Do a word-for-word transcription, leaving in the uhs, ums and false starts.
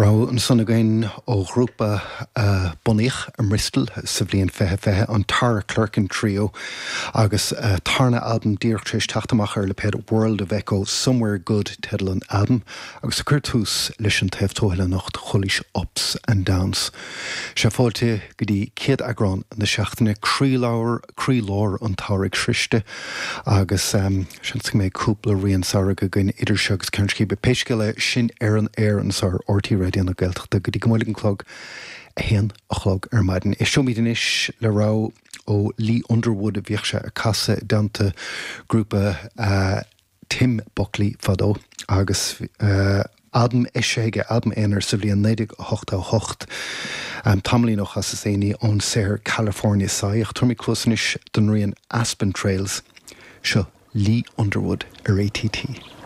Rogha ansan againn ó ghrúpa a bunaíodh i mBristol sa bhliain fiche fiche, an Tara Clerkin Trio, agus a tarna albam díreach tar éis teacht amach ar lipéad World of Echo, Somewhere Good teideal an albaim, agus ag cur tús leis an taobh tuathail anocht chualaís Ups and Downs. Sé fáilte go dtí céad eagrán na seachtaine, croílár croílár an tsamhraidh sroiste agus seans go mbeidh cúpla rian samhraidh againn idir seo agus Ceann Scríbe. Pé scéal é, sin ar an aer anseo ar RTÉ Raidió na Gaeltachta go dtí go mbuailfidh an clog a haon a chlog ar maidin. Éisteoimid anois le rogha ó Lee Underwood a bhíodh sé ag casadh i dteannta grúpa Tim Buckley fadó agus albam eisithe aige, albam aonair sa bhliain naoi déag ochtó a hocht, tamaillín ó chas is éinní ón saothar California Sigh. Ach tabharfaimid cluas anois don rian Aspen Trails. Seo Lee Underwood ar ATT.